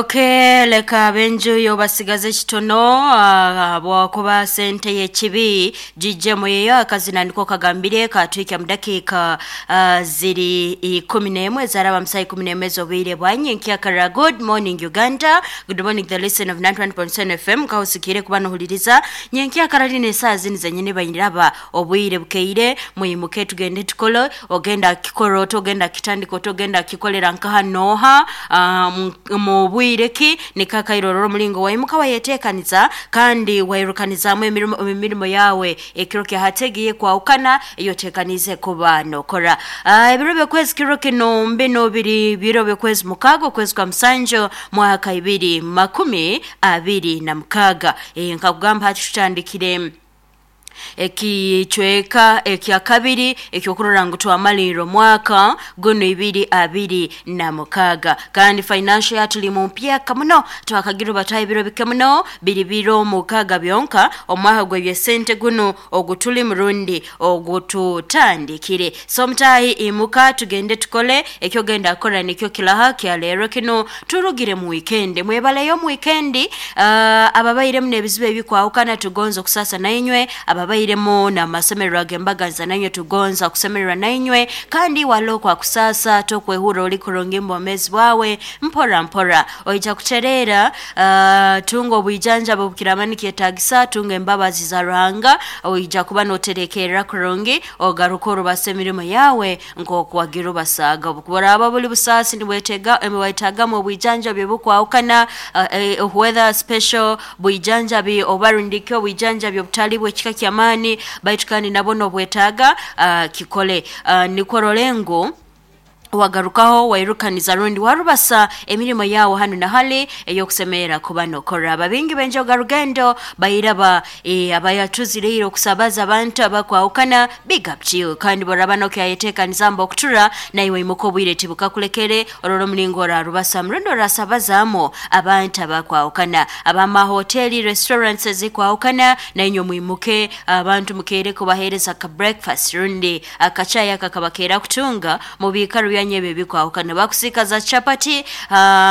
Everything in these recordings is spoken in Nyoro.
Okay, leka ab'enju yo basigaze kitono habwokuba sente y'ekibi gijjemu eyo akazina niko kagambire katwikya mu dakiika ziri 11 ezaraba musaha 11 ez'obwire bwa nyenkyakara. Good morning Uganda, good morning the listen of 91.7 FM. Kahusikire kuba nohuliriza nyenkyakara lino esaaha zini zenyini bainiraba obwire bukeire. Mwimuke tugende tukole. Ogenda kikora ota, ogenda kitandika ota, ogenda kikolera nkaha nooha, mu bwire ki nikakairorora omulingo waimuka wayeteekaniza kandi wairukanizaamu emirimo yawe ekiro kyahategiye kwahukana eyoteekanize kuba nokora. Ebiro byokwezi kiro kino mbino biri biro byokwezi 6 okwezi kwa 7 mwaka 2026. Nkakugamba hati tutandikire ekicweka ekya kabiri ekyokurora ngu twamalirira omwaka guno 2026, kandi financial yatuli mu mpyaka muno twakagira bataha ebiro bike muno biri biro 6 byonka omwaka gw'ebyesente guno ogutuli murundi ogututandikire. So mutahi imuka tugende tukole ekyogenda kukora nikyo kilaha kya leero kino turugire mu weekend. Mwebaleyo mu weekend, ababairemu n'ebizibu ebikwahukana tugonza okusasa nainywe, ababairemu n'amasemererwa ag'embaganza nainywe tugonza kusemererwa nainywe, kandi walo kwa kusasa tokwehura oli kurungi mbomezi bwawe mpora mpora oija kuterera. Tunga obwijanjaba obukiramani kyetagisa, tunga embabazi za Ruhanga, oija kuba noterekerera kurungi ogaruka orubasa emirimo yawe nk'okuwagira obasaga. Obukuraba buli busaasi nibwetega wetagamu obwijanjabi obukwahukana, whether special bwijanjabi oba rundiki obwijanjabi obutali bw'ekika ky'amaani, baitu kandi nabwo nobwetaaga, kikole, nikwo role ngu wagarukaho wairukaniza rundi warubasa emirimo yawe hanu na hali eyokusemerera kuba nokora. Ababingi benjoga rugendo bairaba abayatuzireire okusabaza abantu abakwahukana, big up to you. Kandi boraba nokyayeteekaniza mba okutura naiwe imuka obwire tibukakulekere orora omulingo orarubasa murundi orasabazaamu abantu abakwahukana, abamahoteli restaurants ezikwahukana nainywe mwimuke abantu mukeere kubaheereza ka breakfast rundi akachayi aka kabakeera kutunga mu biikaro byanyu ebyo ebikwahukana, bakusiika za chapati,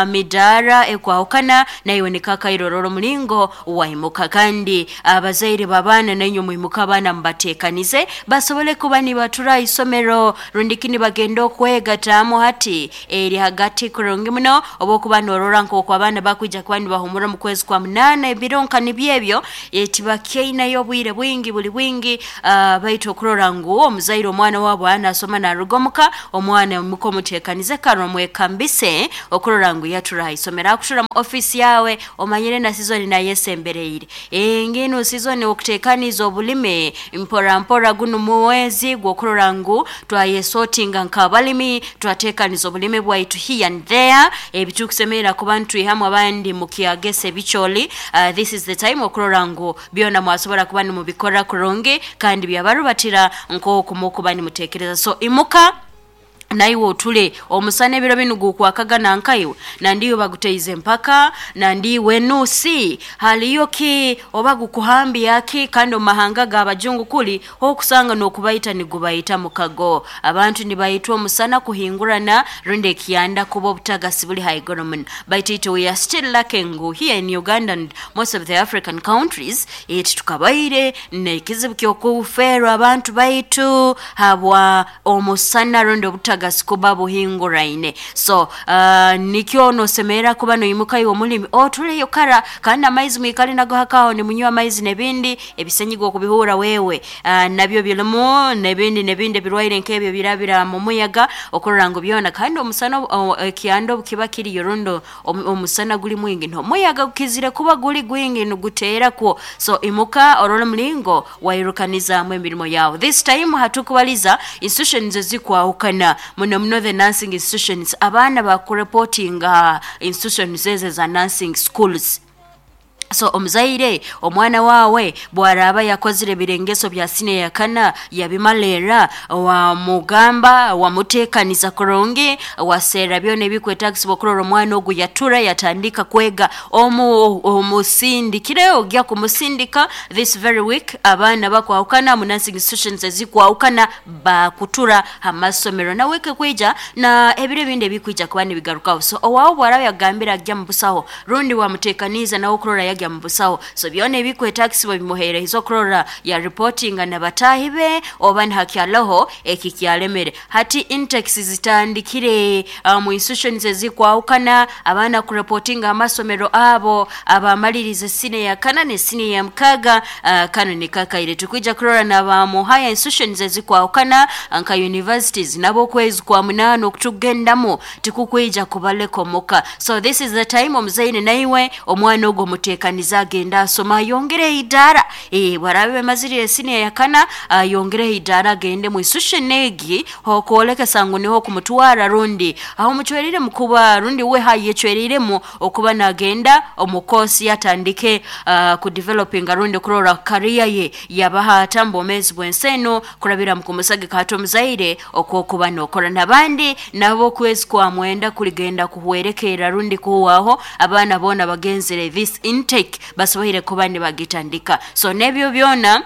midaara ekwahukana naiwe nikakairorora omulingo waimuka. Kandi abazaire b'abaana nainywe mwimuka abaana mubateekanize basobole kuba nibatura isomero rundiki nibagenda okwegataamu hati eri hagati kurungi muno obwokuba norora nk'oku abaana bakwija kuba nibahumura omu kwezi kwa 8 ebiro nka nibyo ebyo, tibakyainayo obwire bwingi buli bwingi, baitu okurora ngu omuzaire omwana wabo anasoma naruga omuka, omwana muka omuteekanize kare omwekambise okurora ngu yatura ha isomero. Akutura mu ofiisi yawe omanyire na sizoni nayesembereire enginu sizoni okuteekaniza obulime mpora mpora guno muwezi gw'okurora ngu twayesotinga nk'abalimi twateekaniza obulime bwaitu here and there ebitukusemerera kuba ntwihamu abandi mukyagesa ebicooli. This is the time okurora ngu byona mwasobora kuba nimubikora kurungi kandi byabarubatira nk'oku mukuba nimuteekereza. So imuka naiwe otule omusana ebiro binu gukwakagana nkaiwe nandiwe baguteize empaka nandiwe nusi haliyo ki oba gukuhambya ki, kandi omu mahanga g'abajungu kuli okusanga n'okubaita nigubaita mukago, abantu nibaitwa omusana kuhingurana rundi ekyanda kuba obutagasi buli haiguru muno. Baitu itwe we are still lacking here in Uganda and most of the African countries, titukabaire n'ekizibu ky'okufeerwa abantu baitu habwa omusana rundi obutagasi kuba buhinguraine. So nikyo nosemerera kuba noimuka iwe omulimi otuleyo kara, kandi amaizi mwikale nago hakaho nimunywa amaizi n'ebindi ebisenyiga okubihura wewe, nabyo birimu n'ebindi n'ebindi ebirwaire nk'ebyo birabira mu muyaga okurora ngu byona. Kandi omusana ekyanda obukiba kiriyo rundi omusana guli mwingi n'omuyaga gukizire kuba guli gwingi niguteerakwo. So imuka orole omulingo wairukanizaamu emirimo yawe. This time hatukubaliza institutions ezikwahukana muno muno the nursing institutions, abaana bakureportinga institutions ezo eza nursing schools. So omuzaire, omwana wawe bwaraba yakozire ebirengeso bya siniya yakana yabimalera, wamugamba, wamutekaniza kurungi, waseera byona ebikwetagisibwa okurora omwana ogu yatura yatandika kwega, omusindikire ogya kumusindika this very week. Abaana bakwahukana mu nursing institutions ezikwahukana bakutura amasomero na wiki kwija na ebiro ebindi ebikwija kuba nibigarukaho. So owawe bwaraba yagambira agya mu busaho, rundi wamutekaniza nawe okurora yagya mu busaho, so byona ebikwetagisibwa bimuheereza okurora ya reportinga na bataahi be oba nihakyaloho ekikyalemere. Hati intakes zitandikire mu institutions ezikwahukana, abaana kureportinga amasomero abo abamalirize siniya yakana ne siniya ya mukaga. Kano nikakaire tukwija kurora naba mu higher institutions ezikwahukana nka universities nabo okwezi kwa 8 okutugendamu tikukwija kubaleka omuka. So this is the time omuzaire naiwe omwana ogwo mutekaniza agenda asoma ayongere idara, bwarabe bamazirire siniya yakana ayongere idara agende mu institution egi okwolekesa ngu niho kumutwara, rundi aho mucwerire mukuba rundi we hayecweriremu okuba nagenda omukosi yatandike ku developing rundi kurora career ye yabaha atambo omezi bwenseno kurabira mukumusage kato omuzaire okwokuba nokora nabandi nabo kwezi kwa 9 kuligenda kuhwerekera rundi kuwaho abaana bona bagenzere this intake basoboire kuba nibagitandika. So nebyo byona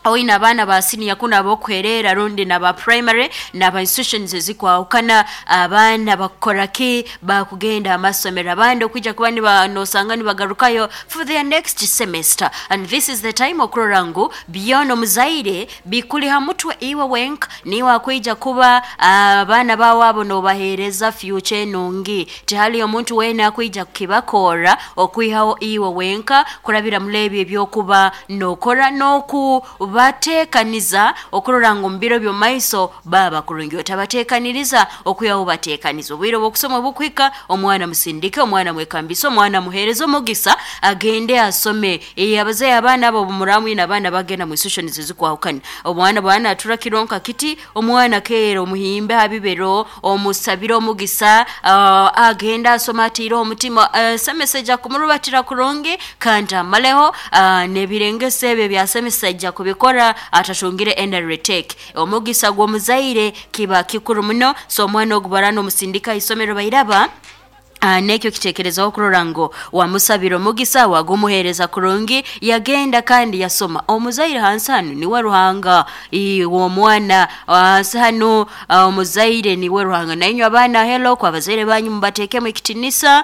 oina abaana ba siniya kuna abokuherera rundi naba primary naba institutions ezikwahukana, abaana bakoraki bakugenda amasomero, abandi okwijja kuba nosanga nibagarukayo for their next semester. And this is the time okurora ngu byona omuzaire bikuli ha mutwe iwe wenka, niwe akwija kuba abaana bawe abo nobahereza future enungi. Tihali omuntu wena akwija kukibakora okwihaho iwe wenka kurabira mulebi ebyokuba nokora noku batekaniza okurora ngu mbiro byomaiso baba kurungi. Otabatekaniriza okuyaho batekaniza obwire bw'okusoma bukwika, omwana musindike, omwana mwekambisa, omwana muhereza omugisa agende asome. Abazaire abaana abo muramu ina abaana bagenda mu institutions ezikwahukana, omwana bwana atura kironka kiti, omwana keera omuhimbe habibero omusabira omugisa, agenda asoma atiire omutima, semesejja kumurubatira kurungi kandi amaleho n'ebirengese ebyo bya semesejja kubikora atatungire enda retake. Omugisa gw'omuzaire kiba kikuru muno. So omwana ogubarana omusindika isomero bairaba nekyo kitekerezaho okurora ngu wamusabira omugisa wagumuhereza kurungi yagenda kandi yasoma. Omuzaire hansi hanu niwe Ruhanga w'omwana, hansi hanu omuzaire niwe Ruhanga. Nainywe abaana helo kwa bazaire banyu mubatekemu ekitinisa,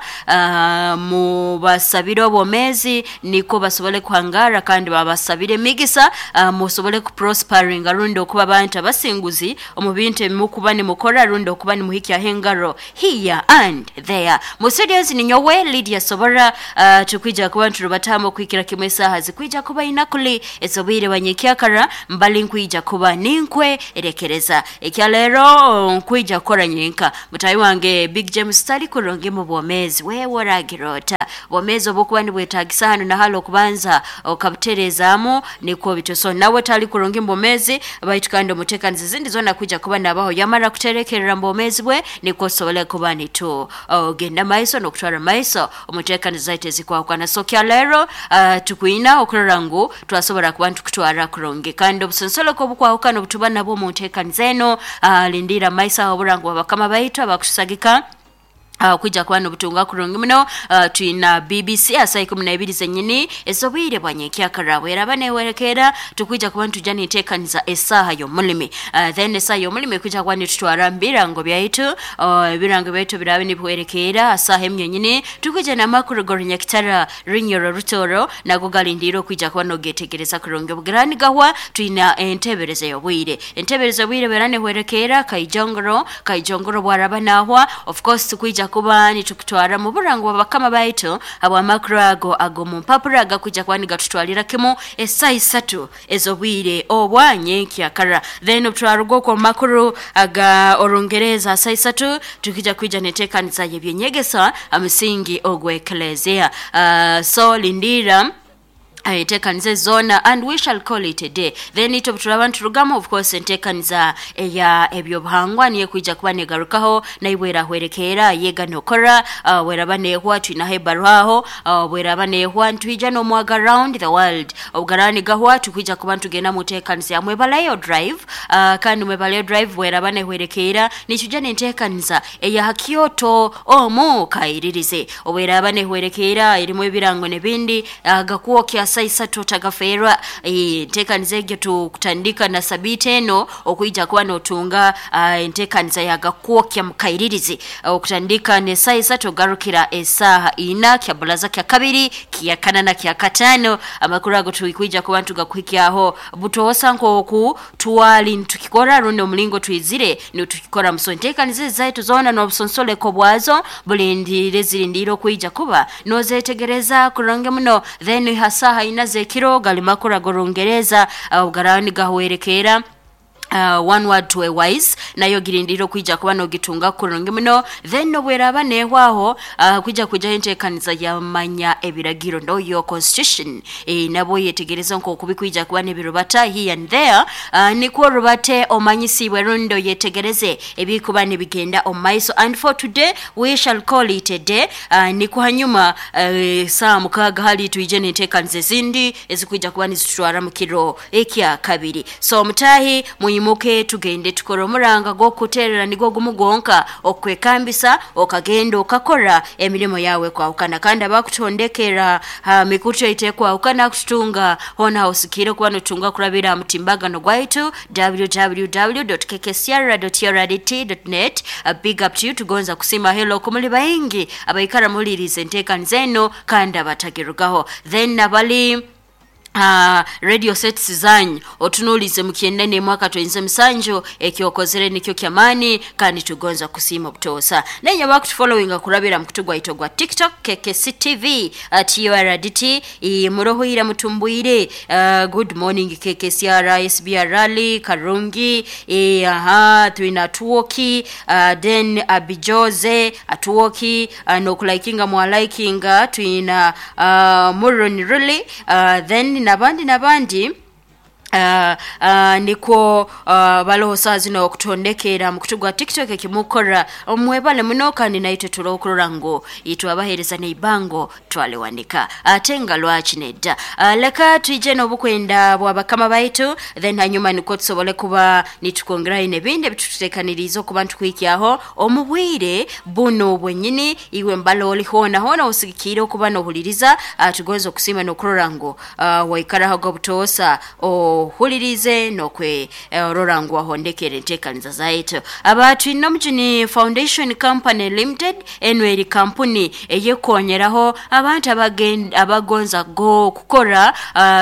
mubasabire obwomezi niko basobole kuhangara kandi babasabire emigisa, musobole kuprosperinga rundi okuba abantu abasinguzi omu bintu ebimukuba nimukora rundi okuba nimuhikyaho engaro here and there. Mu studios ni nyowe Lydia Sobora, tukwija kuba nturubatamu kwikira kimwe saha zikwija kuba inakuli esobire banyekyakara mbali nkwija kuba ninkwe erekereza ekyalero nkwija kukora nyenka. Mutayi wange Big James tali kurungi mu bwomezi wewe oragirota bwomezi obukuba nibwetagisa hano na halo kubanza okabuterezamu niko bityo. So nawe tali kurungi mu bwomezi baitu kandi omutekanizi zindi zona kwija kuba nabaho yamara kuterekerera mu bwomezi bwe niko sobole kuba nitu genda maiso nokutwara maiso omutekanizi zaite zikwahukana. So kyalero tukwina okurora ngu twasobora kuba ntukutwara kurungi kandi obusensoleko obukwahukana obutuba nabwo mu ntekanizi eno, lindira maiso aho oburango bw'abakama baitu abakutusagika kwija kuba n'obutunga kurungi muno. Twina BBC asa 12 zenyini ezobwire bwa nyenkyakara bweraba newerekera tukwija kuba ntujja nintekaniza esaha y'omulimi. Then esaha y'omulimi kwija kuba nitutwara mbirango byaitu, ebirango byaitu birabe nibwerekera asaha emyenyini tukwija n'amakuru g'orunyakitara Runyoro Rutoro nago galindira okwija kuba nogetegereza kurungi. Obugirani gahwa twina entebereza y'obwire, entebereza y'obwire bera nehwerekera kaijongoro bwaraba nahwa of course tukwija kuba nitukutwara mu burango bw'abakama baitu ab'amakuru ago ago mu mpapuro agakwija kuba nigatutwalira kimu esaha 3 ez'obwire obwa nyenkyakara. Then obutwaruga okwo mu makuru aga orungereza asaha 3 tukija kwija neteekaniza y'ebyenyegesa amisingi ogw'eklezia. So lindira Enteekaniza zoona, and we shall call it a day. Then itwe turaba niturugamu, of course enteekaniza eya ebyobuhangwa niyo kwija kuba negarukaho, naibwe erahwerekeera yega nokora. Bweraba nehwa twinaho ebaruha aho, bweraba nehwa ntwija n'omwaga round the world. Obugaraba nigahwa tukwija kuba ntugenda mu nteekaniza ya Mwebalayo Drive, kandi Mwebalayo Drive bweraba nehwerekeera nitujja n'enteekaniza eya Kyoto omu kairirize. Obweraba nehwerekeera erimu ebirango n'ebindi, gakwokya saisatu tagaferwa. Enteekaniza egyo tukutandika na sabiti eno okwija kuba notunga enteekaniza yagakwokya mukairirizi, okutandika ne saisatu ogarukira esaha ina kya bulaza kya kabiri kya kana na kya katano. Amakuru ago tukwija kuba ntugakuhikyaho butoosa nkoku twali ntukikora rundi omulingo twizire nitukikora. Muso enteekaniza zaitu zoona n'obusonsoleko bwazo bulindire zirindire okwija kuba nozetegereza kurungi muno. Then hasaha ina zekiro galimakura gorungereza, ogarani gahwerekera one word to a wise, nayo girindire kwija kuba nogitunga kurungi muno. Then nobweraba nehwaho kwija kuja enteekaniza yamanya ebiragiro know your constitution, nabo yetegereza nkoku bikwija kuba nebirubata here and there, nikwo rubate omanyisibwe rundo yetegereze ebikuba nibigenda omumaiso. And for today we shall call it a day. Nikwo hanyuma saa 6 hali tuije n'enteekaniza ezindi ezikwija kuba nizitutwara mu kiro ekya kabiri. So mutahi muyimuke tugende tukora omuranga gw'okuterera nigwo gumu gwonka okwekambisa okagenda okakora emirimu yawe kwahukana, kandi abakutondekera mikutu yaite kwahukana kututunga hona hosikire kuba notunga kurabira mutimbagano gwaitu www.kkcr.rdt.net. Big up to you, tugonza kusima hello kumuli baingi abaikara mulirize enteekaniza eno kandi abatagirugaho. Then abali radio sets zanyu otunulize mukiendene mwaka 2007 ekyokozere nikyo kyamani kandi tugonza kusima butosa. Nenye bakutufollowinga kurabira mukutugwa itogwa TikTok KKC TV TURDT, muroho mutumbuire. Good morning KKCR SBR Rally Karungi, aha twina tuoki, then Abijoze atuoki, nokulikinga mwalikinga twina Muroni Rally, then nabandi niko baloho saa zino okutondekera mukutugwa TikTok ekimukora omwebale muno kandi naitwe tulokurora ngo itwe abahereza neibango twalewanika atenga lwaki nedda. Leka tuije n'obukwenda bwa bakama baitu, then hanyuma niko tusobole kuba nitukongera ine bindi bitutekaniriza okuba ntukwikyaho omubwire buno bwenyini. Iwe mbalo oli hona hona osigikire okuba nohuliriza, tugonza okusima n'okurora ngo waikaraho gobutosa ohulirize nokwe rora ngu wahondekere enteekaniza zaitu. Abantu Nomjuni Foundation Company Limited eno eri kampuni eyekonyeraho abantu abagonza go kukora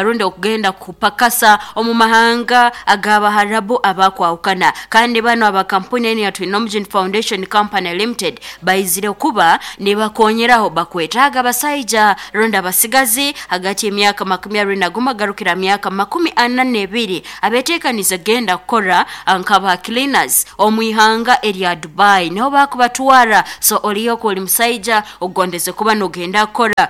rundi okugenda kupakasa omu mahanga ag'abaharabu abakwahukana, kandi bano abakampuni eno ya Nomjuni Foundation Company Limited baizire kuba nibakonyeraho bakwetaaga abasaija rundi abasigazi hagati y'emyaka 21 garukira myaka 42 abeteekaniza genda kukora nkaba cleaners omwihanga erya Dubai niho bakubatwara. So oliyoko oli musaija ogondeze kuba nogenda kukora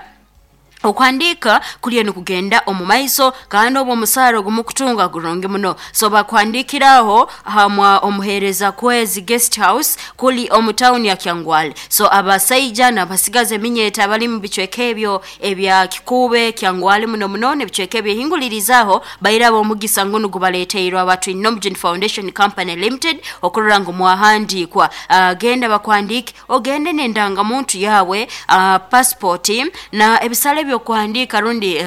okuhandika kuliyo nikugenda omu maiso kandi obwo omusaara ogumukutunga gurungi muno. So bakuhandikiraho hamwa omuhereza kwezi guest house kuli omu town ya Kyangwale. So abasaija n'abasigazi eminyeta abali mu bicweka ebyo ebya Kikube Kyangwale muno muno n'ebicweka ebyehingulirizaho bairaba omugisa ngunu gubaleteirwe abantu Nomjuni Foundation Company Limited okurora ngu mwahandikwa. Genda bakuhandike ogende n'endangamuntu yawe, passport na ebisale byokuhandika rundi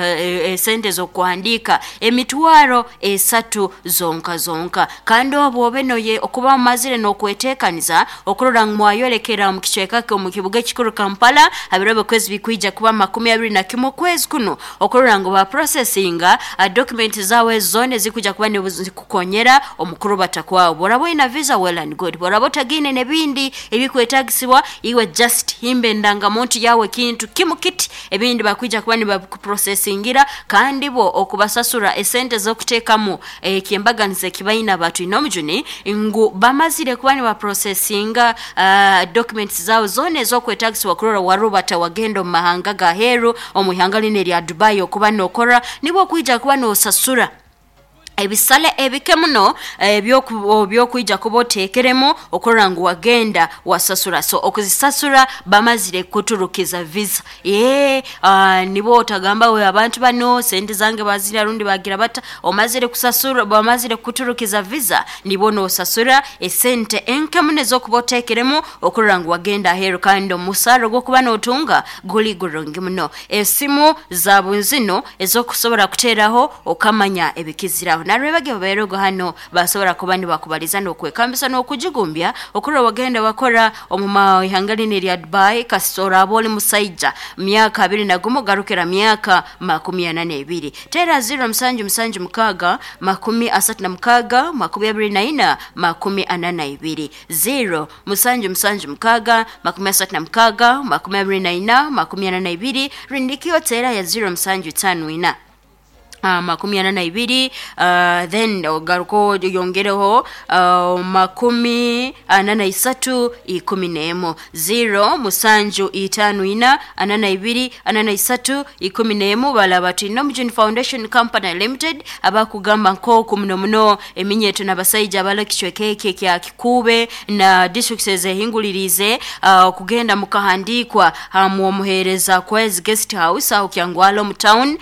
sente zokuhandika emitwaro 3 zonka zonka, kandi obwo obe noye okuba mazire n'okwetekaniza okurora ngu mwayolekera mu kicweka mu kibuga ekikuru Kampala abirobe kwezi bikwija kuba 21 kwezi kuno okurora ngu ba processinga document zawe zone zikuja kuba zikukonyera omukuru batakwawo. Borabo ina visa, well and good, borabo tagine nebindi ebikwetagisibwa iwe just himbe ndangamuntu yawe kintu kimu kiti ebindi bakwija Nibaija kuba nibakuprosesingira kandi bo okubasasura esente z'okuteekamu ekyembaganiza ekibaina Batwinomujuni ngu bamazire kuba nibaprosesinga documents zaabo zoona ez'okwetagisibwa kurora warubata wagenda omu mahanga ga heeru, omu ihanga linu erya Dubai okuba nookora, nibwo okwija kuba noosasura ebisale ebike muno ebyokwija kuba oteekeremu okurora ngu wagenda wasasura. So okuzisasura bamazire kuturukiza visa. Nibo otagamba we abantu bano sente zange bazirya rundi bagira bata, omazire kusasura, bamazire kuturukiza visa, nibo noosasura esente enke muno ez'okuba oteekeremu okurora ngu wagenda aheeru, kandi omusaara ogw'okuba nootunga guli gurungi muno. Esimu zaabu zino ez'okusobora kuteeraho okamanya ebikiziraho. Narwebage babeerego hano basobora kuba nibakubaliza n'okwekambisa n'okujigumbya okurora wagenda wakora omu ihanga linu erya Dubai. Kasita oraaba oli musaija myaka 21 garukira myaka 42, teera 0 7 7 6 36 24 42, 0 7 7 6 36 24 42, rindikio teera ya 0 7 5 4 42, then ogaruko yongereho 43 11, 0 7 5 4 42 43 11. Balaba Twinomujuni Foundation Company Limited abakugamba nk'oku muno muno eminyeto n'abasaija abali ekicweka eki ekya Kikuube na districts ezehinguliriize okugenda mukahandiikwa hamwomuheereza Kwezi Guest House aho Kyangwala omu town.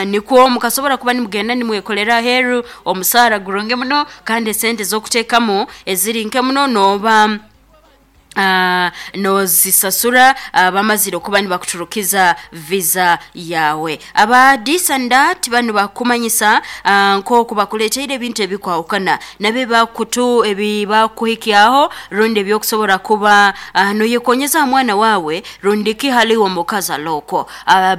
Nikwo mukasobora kuba nimugenda nimwekolera aheeru omusaara gurungi muno, kandi esente z'okuteekamu eziri nke muno nooba nozisasura bamazire okuba nibakuturukiza visa yawe. Aba Disandat banu bakumanyisa nk'oku bakuleeteire ebintu ebikwahukana nabyo bakutu ebibakuhikyaho rundi ebyokusobora kuba noyekonyeza ha mwana wawe rundi ki haliwo omukazi alokwo.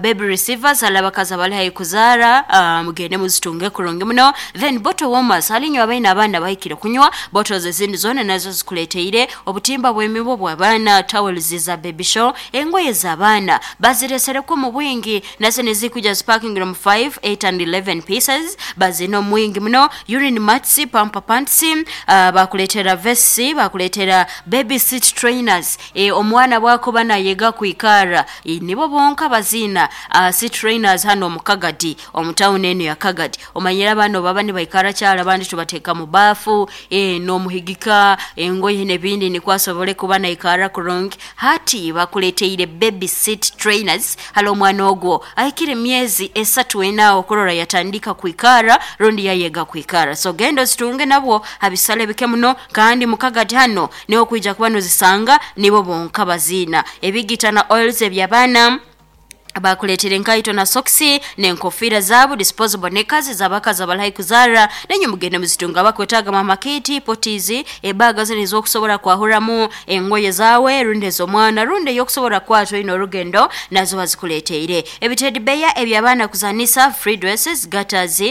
Baby receivers hali abakazi abali haihi kuzaara, mugende muzitunge kurungi muno. Then bottle warmers hali inywe abaine abaana bahikire kunywa, bottles ezindi zoona nazo zikuleeteire obutimba bw'emibu bw'abaana, towels za baby show, engoye z'abaana baziresereko mu bwingi, nazo nizikuja zipakingira mu 5, 8 and 11 pieces, bazina omwingi muno. Urine mats, pamper pants, bakuleetera vests, bakuleetera baby seat trainers. Omwana bwakuba nayega kwikara, nibo bonka bazina seat trainers hano omu Kagadi, omu town enu ya Kagadi. Omanyire abaana baba nibaikara kyalo, abandi tubateeka mu baafu, n'omuhigika engoye n'ebindi nikwo asobole kuba naikara kurungi. Hati bakuleeteire baby seat trainers hali omwana ogwo ahikire emyezi 3 4 okurora yatandika kwikara rundi yayega kwikara. So genda ozitunge nabwo habisale bike muno, kandi mukagadi hano niho kwija kuba nozisanga, nibo bonka bazina. Ebigita na oils eby'abaana bakuleetera enkaito na soksi n'enkofiira zaabo, disposable knickers z'abakazi abali kuzaara, nenye mugende muzitunga. Bakwetaaga mama kiti potizi, ebaga zino ez'okusobora kwahuramu engoye zaawe rundi ez'omwana rundi ey'okusobora kwata oine orugendo, nazo bazikuleeteire. Ebitedibeya eby'abaana kuzanisa, free dresses, gutters,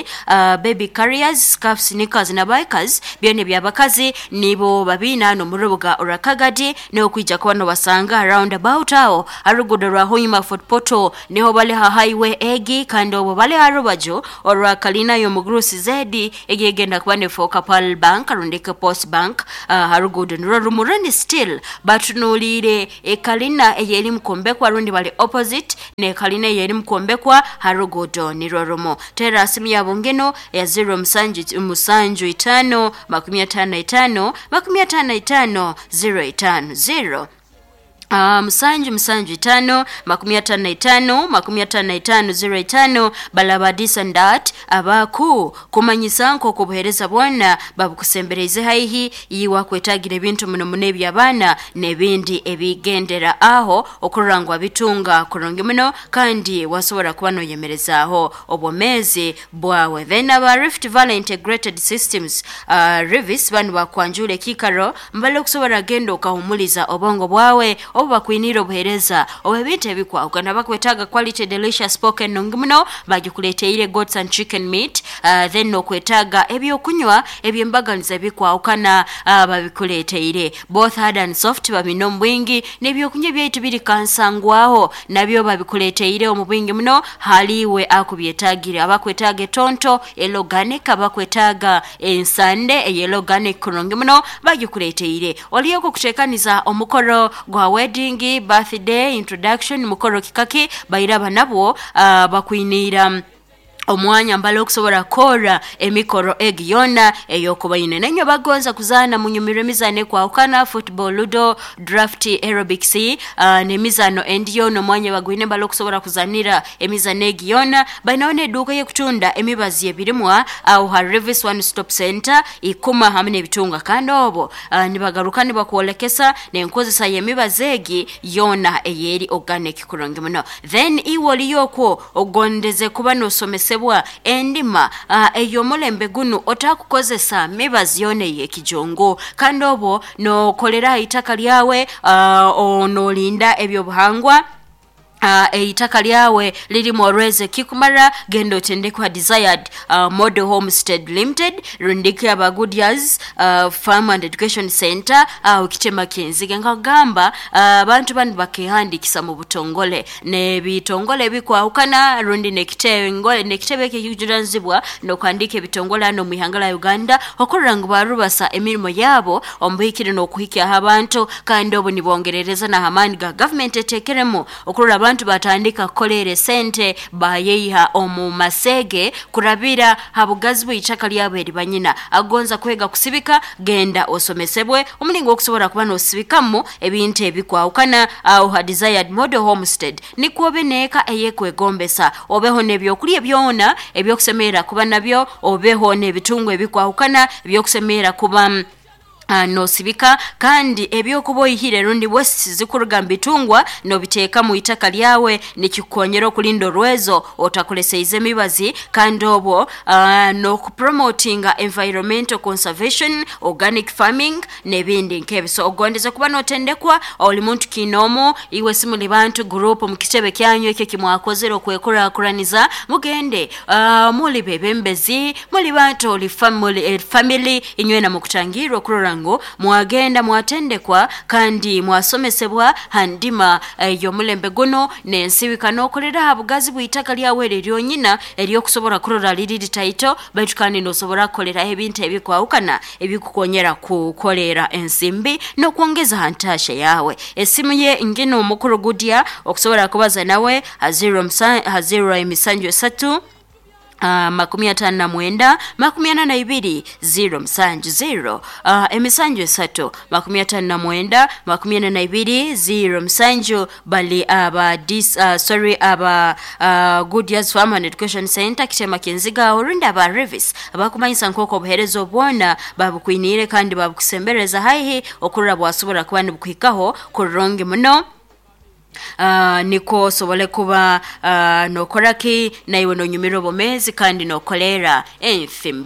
baby carriers, scarfs, knickers na bikers, byona eby'abakazi nibo babiina hano mu rubuga orwa Kagadi, niho kwija kuba nobasanga round about aho arugudo rwa Hoima Fort Portal, niho bali ha highway egi, kandi obo bali ha rubaju orwa kalina y'omugurusi zedi egegenda kuba nefoka Pearl Bank rundi ke Post Bank, harugudo nirwo rumurani still batunuliire ekalina eyeri mukombekwa rundi bali opposite ne kalina eyeri mukombekwa harugudo nirwo rumo. Tera simu yabo ngeno ya 0 7 7 5 55 55 05 0 7 7 5 55 55 05. Balaba Disandat abaku kumanyisa nk'oku obuheereza bwona babukusembereize haihi iwe kwetagira ebintu muno muno eby'abaana n'ebindi ebigendera aho okurora ngu wabitunga kurungi muno, kandi wasobora kuba noyemerezaaho obwomeezi bwawe. Then aba Rift Valley Integrated Systems, Rivis, banu bakwanjura ekiikaro mbale okusobora genda okahumuliza obwongo bwawe. Obu bakwinire obuhereza obw'ebintu ebikwahukana. Bakwetaaga quality delicious pork enungi muno, bagikuleteire goats and chicken meat. Then nokwetaaga ebyokunywa ebyembaganiza ebikwahukana, babikuleteire both hard and soft, babine omu bwingi. N'ebyokunywa byaitu biri kansangwaho nabyo babikuleteire omu bwingi muno haliwe akubyetagire. Abakwetaaga etonto eloganic, abakwetaaga ensande eyeloganic kurungi muno bagikuleteire. Oliyo kutekaniza omukoro gwa wedding, birthday, introduction, mukoro kikaki, bairaba nabwo bakwiniira omwanya mbale okusobola kukora emikoro egi yona eyokubaine. Nenyo bagonza kuzaana munyumirwe emizaano ekwahukana, football, ludo, draft, aerobics, n'emizaano endi yona, omwanya bagwine mbale okusobola kuzanira emizaano egi yona. Bainaho n'eduuka ey'okutunda emibazi ebirimwa aho ha Revis One Stop Center ikuma hamwe n'ebitunga. Kandi obo nibagaruka nibakwolekesa n'enkozesa y'emibazi egi yona eyeri organic kurungi muno. Then iwe oliyo okwo ogondeze kuba nosomesebwa endima ey'omulembe gunu otakukozesa mibazi yona ey'ekijongo, kandi obwo nokolera itaka lyawe, onolinda ebyobuhangwa, eitaka lyawe lirimu orweze kikumara, genda otendekwa Desired Model Homestead Limited rundiki aba Goodyears Farm and Education Center aho kitema kinzige. Nkagamba abantu banu bakehandikisa mu butongole n'ebitongole ebikwahukana rundi n'ekitebe ekikujuranizibwa n'okuhandika ebitongole hano mu ihanga la Uganda, okurora ngu barubasa emirimo yabo omubuhikire n'okuhikyaho abantu. Kandi obu nibongerereza n'amaani ga gavumenti etekeremu okurora abantu batandika kukolera sente bayeiha omu masege kurabira habugazi bw'itaka lyabo eri banyina. Agonza kwega kusibika, genda osomesebwe omulingo okusobola kuba nosibikamu ebintu ebikwahukana aho ha Desired Model Homestead, nikwo obe neeka eyekwegombesa, obeho n'ebyokulya byona ebyokusemerera kuba nabyo, obeho n'ebitungo ebikwahukana ebyokusemerera kuba nosibika. Kandi ebyokuba oyihire rundi wesi zikuruga mu bitungwa nobiteeka mu itaka lyawe, nikikukonyera okulinda orwezo otakoleseize emibazi. Kandi obwo n'okupromotinga environmental conservation, organic farming n'ebindi nk'ebyo. So ogondeze kuba notendekwa, oli muntu kinoomu, iwe simuli bantu group mu kitebe kyanyu ekyo kimwakozere okwekurakuraniza, mugende muli bebembezi, muli bantu oli family inywena mukutangirwa okurora ngu mwagenda mwatendekwa kandi mwasomesebwa handima y'omulembe guno n'ensibika n'okolera ha bugazi bw'itaka lyawe eryo ryonyina eryokusobola kurora liri litaito, baitu kandi nosobora kukoleraho ebintu ebikwahukana ebikukonyera kukolera ensimbi n'okwongeza ha ntasha yawe. Esimu ye ngino omukuru Gudya okusobola kubaza nawe ha 0 emisanju esatu 59 42 0 musanju 0 emisanju esatu 59 42 0 musanju. Bali aba aba Goodyears Farm and Education Center kitema kinziga orundi aba Revis abakumanyisa nk'oku obuhereza obwona babukwinire kandi babukusembereza haihi okurora bwasobora kuba nibukuhikaho kurungi muno. Niko osobole kuba nokoraki naiwe nonyumira obumezi kandi nokolera ensimbi.